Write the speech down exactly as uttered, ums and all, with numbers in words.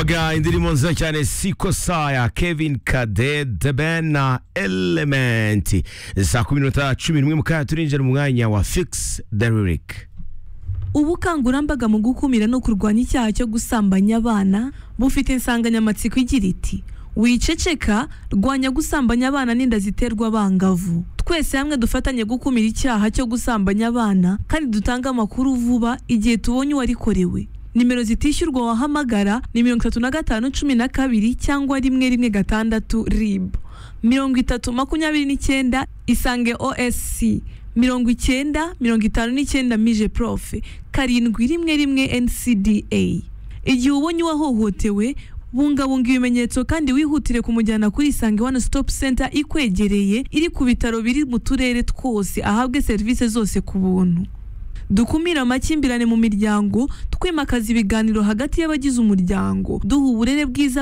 umvaga indirimbo nziza cyane Siko Saya, Kevin Kade, The Ben na Element. Saa kumi n'umunani cumi n'umwe mukaya turinjira mu mwanya wa Fix the Lyric. Ubukangurambaga mu gukumira no kurwanya icyaha cyo gusambanya abana bufite insanganyamatsiko igira iti wiceceka, rwanya gusambanya abana n'inda ziterwa abangavu. Twese hamwe dufatanye gukumira icyaha cyo gusambanya abana kandi dutanga amakuru vuba igihe tubonye uwarikorewe. Nimero zitishyurwa wahamagara ni mirongo itatu na gatanu cumi na kabiri cyangwa rimwe rimwe gatandatu R I B, mirongo itatu makumyabiri n'icyenda Isange O S C, mirongo icyenda mirongo itanu n'icyenda Mije Prof, karindwi rimwe rimwe N C D A. Igihe ubonye uwahohotewe, bungabunga ibimenyetso kandi wihutire kumujyana kuri Isange One Stop Center ikwegereye, iri ku bitaro biri mu turere twose, ahabwe serivisi zose ku buntu. Dukumira amakimbirane mu miryango, twimakaza ibiganiro hagati y'abagize umuryango, duha uburere bwiza